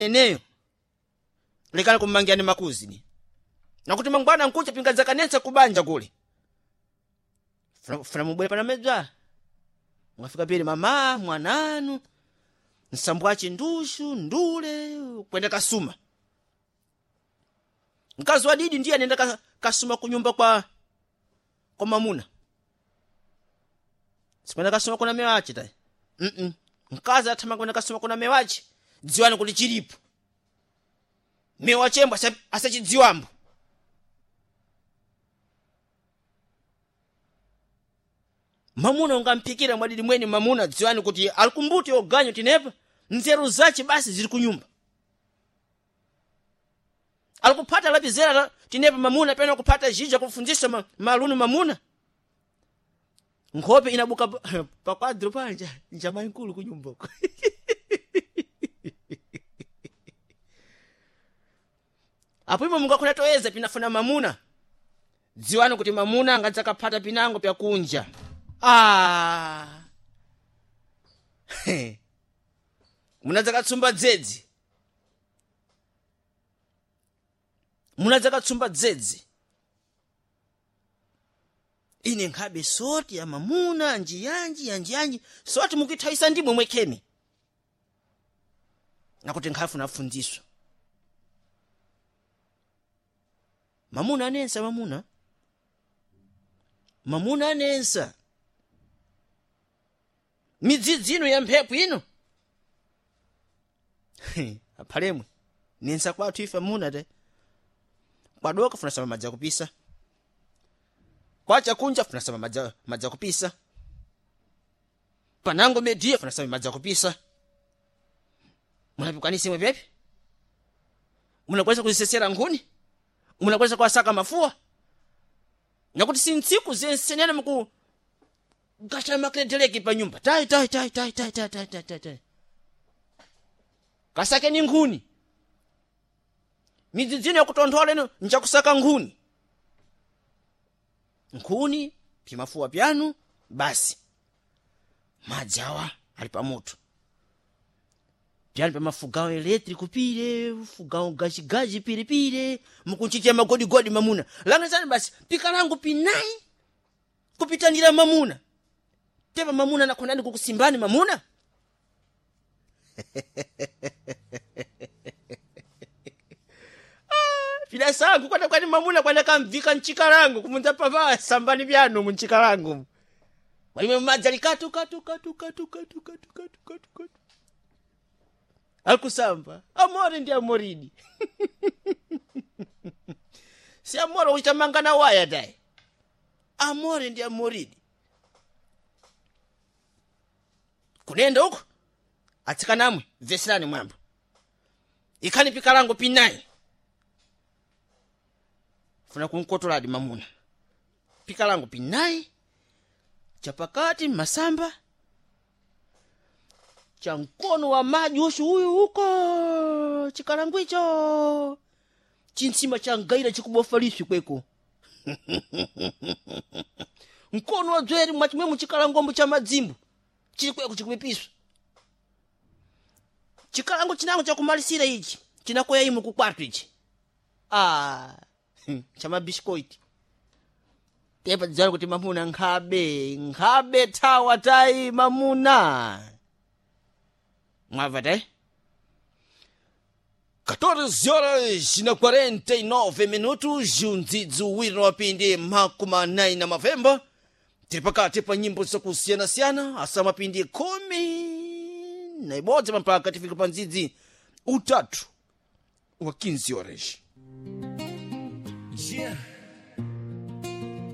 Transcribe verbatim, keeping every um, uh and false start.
eneyo lekani kummangira ni makuzini nakuti mangwana nkucha pingadzakanensa kubanja kule funa, funa mubwere pana medzwa mwafika pili mama mwananu nsambwachi ndushu ndule kwenda kasuma mkazi wa didi ndiye anenda ka, kasuma kunyumba kwa kwa mamuna sikwenda kasuma kuna mewachi tayi mm -mm. Mkazi athama kwenda kasuma kuna mewachi dziwani kuti chilipo mewa chembo asachidziwambo mamuna ungamphikira mwadidi mweni mamuna dziwani kuti alikumbuti oganyo tinepa nzeru zace basi zili kunyumba alikuphata lapizera tinepa mamuna pena kuphata zhija kufunzisa ma, malunu mamuna nkhope inabuka pakwadro panja njama inkulu kunyumbako apo imo mungakhona toyeza pinafuna mamuna dziwani kuti mamuna angadzakaphata pinango pyakunja ah. Munadzakatsumba dzedzi munadzakatsumba dzedzi ine nkhabe soti ya mamuna njiyanji yanjiyanji soti mukuithaisa ndimwe mwekheni nakuti nkhafuna afundziswa mamuna anensa mamuna mamuna anensa midzidzi ino ya mphepo ino aphalemwe nensa kwathu ife amuna te kwadoka funa sama madzi akupisa kwacha kunja funa sama madzi madzi akupisa panango mediya funa sama madzi akupisa munapikwanisa imwe pepe munakwanisa kuzisesera nkhuni munakwanisa kuwasaka mafuwa nakuti sintsiku zensenene muku gasha makiledeleki pa nyumba tai tai tai tai tai tai tai tai tai tai kasakeni nkhuni midzidzino yakutonthola ino njakusaka nkhuni nkhuni pimafuwa pyanu basi madzi awa ali pamoto pyanu pamafugawo electric pile fugawo gajigaji pilipile mukunchitira magodigodi mamuna langizani basi pika langu pinayi kupitanira mamuna tepa mamuna nakhonani kukusimbani mamuna pidasangu kwata kwani mamuna kwana kamvika mchikalangu kumunza pava sambani byanu munchikalangu walimwe madzi ali katu katu katu katu katu katu katu katu katu akusamba amore ndi amoridi si amore kuchitamanga na waya tayi amore ndi amoridi kunenda uko atsikanamwe veserani mwamba ikhani pikalango pinayi funa kunkotoladi mamuna pikalango pinayi chapakati masamba cha mkono wa maji ushu uyu uko chikalango icho chintsima cha ngaira chikubofa liswi kweko mkono wa dzweri mwachimwe muchikalangombo cha madzimbu chili kweko chikupipiswa chikalango chinango chakumalisira ichi chinakoya imu kukwatu ichi ah cha mabiscoiti tepa dzana kuti mamuna nkhabe nkhabe thawa tayi mamuna mwava tayi catorze horas na quarenta e nove minutos undzidzi uwiri na mapindi makumi anayi na mavemba tili pakati pa nyimbo zakusiyanasiyana asa mapindi khumi na ibodzi pampaka tifika pa ndzidzi utatu wa quinze horas. Yeah.